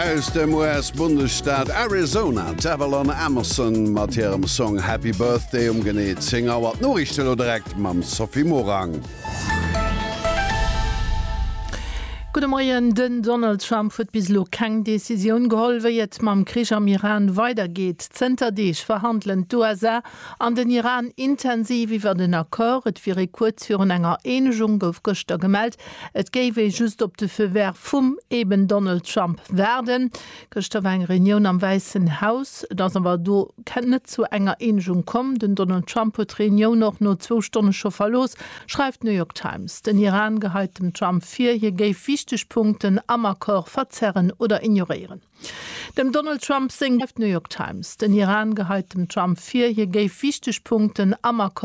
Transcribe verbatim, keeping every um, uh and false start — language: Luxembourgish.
Aus dem U S-Bundesstaat Arizona, d'Avalon Emerson mat hirem Song Happy Birthday um genee zéng Auer. D'Noriichten elo direkt mam Sophie Morang. Gudde Moien. Den Donald Trump huet bis elo keng Decisioun geholl, wéi et mam Krich am Iran weidergeet. Zënter Deeg verhandelen d'U S A an den Iran intensiv iwwer den Accord. Et wier ee kuerz virun enger Eenegung, gouf gëschter gemellt. Et géif ee just op de Feu vert vum eben Donald Trump waarden. Gëschter war eng Reunioun am Wäissen Haus, et ass awer do net zu enger Eenegung komm. Den Donald Trump huet d'Reunioun och no zwou Stonne scho verlooss, schreift d'New York Times. Den Iran geheit dem Trump vir, hie géif wichteg Punkten am Accord verzerren oder ignoréieren. Dem Donald Trump seng New York Times. Den Iran geheit dem Trump vir, hie géif wichteg Punkten am Accord